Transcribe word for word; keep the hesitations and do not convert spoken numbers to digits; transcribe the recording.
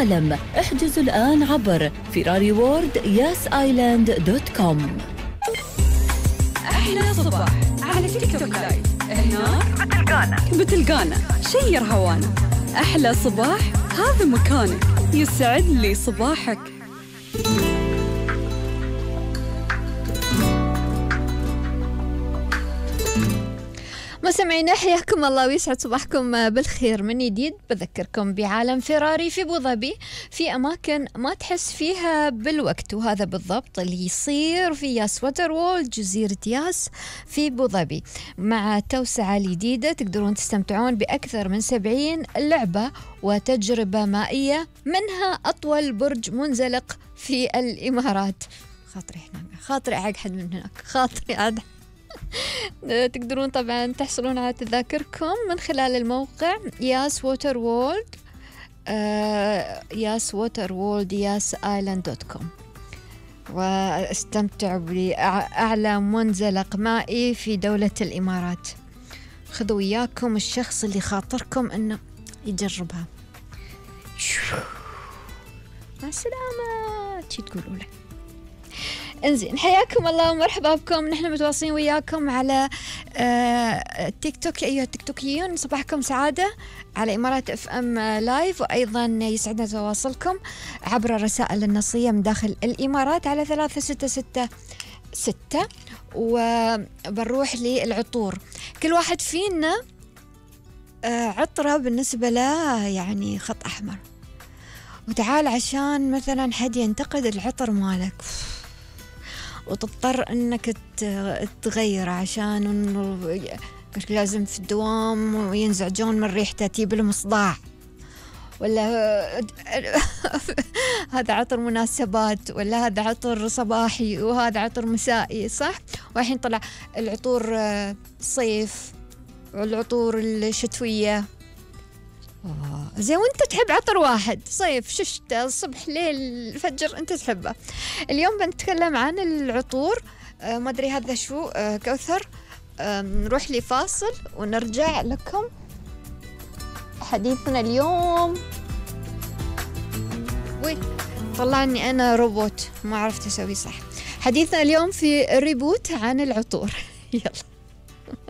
العالم. احجزوا الآن عبر فيراري وورد ياس آيلاند دوت كوم. أحلى صباح على تيك توك لايف. هنا بتلقانا بتلقانا شير هوانا. أحلى صباح هذا مكانك، يسعد لي صباحك. مستمعينا حياكم الله ويسعد صباحكم بالخير من جديد. بذكركم بعالم فيراري في أبو ظبي، في أماكن ما تحس فيها بالوقت، وهذا بالضبط اللي يصير في ياس ووتر وورلد جزيرة ياس في أبو ظبي. مع التوسعة الجديدة تقدرون تستمتعون بأكثر من سبعين لعبة وتجربة مائية، منها أطول برج منزلق في الإمارات. خاطري هنا خاطري أقعد من هناك خاطري أقعد. تقدرون طبعا تحصلون على تذاكركم من خلال الموقع ياس ووتر وورلد ياس ووتر وورلد ياس آيلاند دوت كوم، واستمتعوا بأعلى منزلق مائي في دولة الإمارات. خذوا وياكم الشخص اللي خاطركم أنه يجربها. مع السلامة شي تقولوا له. انزين حياكم الله ومرحبا بكم. نحن متواصلين وياكم على آه تيك توك أيها التيك-توكيون. صباحكم سعادة على إمارات اف ام لايف، وأيضا يسعدنا تواصلكم عبر الرسائل النصية من داخل الإمارات على ثلاثة ستة ستة ستة. وبنروح للعطور. كل واحد فينا آه عطرة بالنسبة له يعني خط أحمر، وتعال عشان مثلا حد ينتقد العطر مالك وتضطر انك تغير عشان انه لازم في الدوام وينزعجون من ريحته تجيب لهم صداع، ولا هذا عطر مناسبات، ولا هذا عطر صباحي وهذا عطر مسائي، صح؟ والحين طلع العطور صيف والعطور الشتوية. زي وانت تحب عطر واحد صيف شتاء الصبح ليل الفجر انت تحبه. اليوم بنتكلم عن العطور. آه ما ادري هذا شو. آه كوثر آه نروح لي فاصل ونرجع لكم. حديثنا اليوم وي طلعني انا روبوت ما عرفت اسوي صح. حديثنا اليوم في الريبوت عن العطور. يلا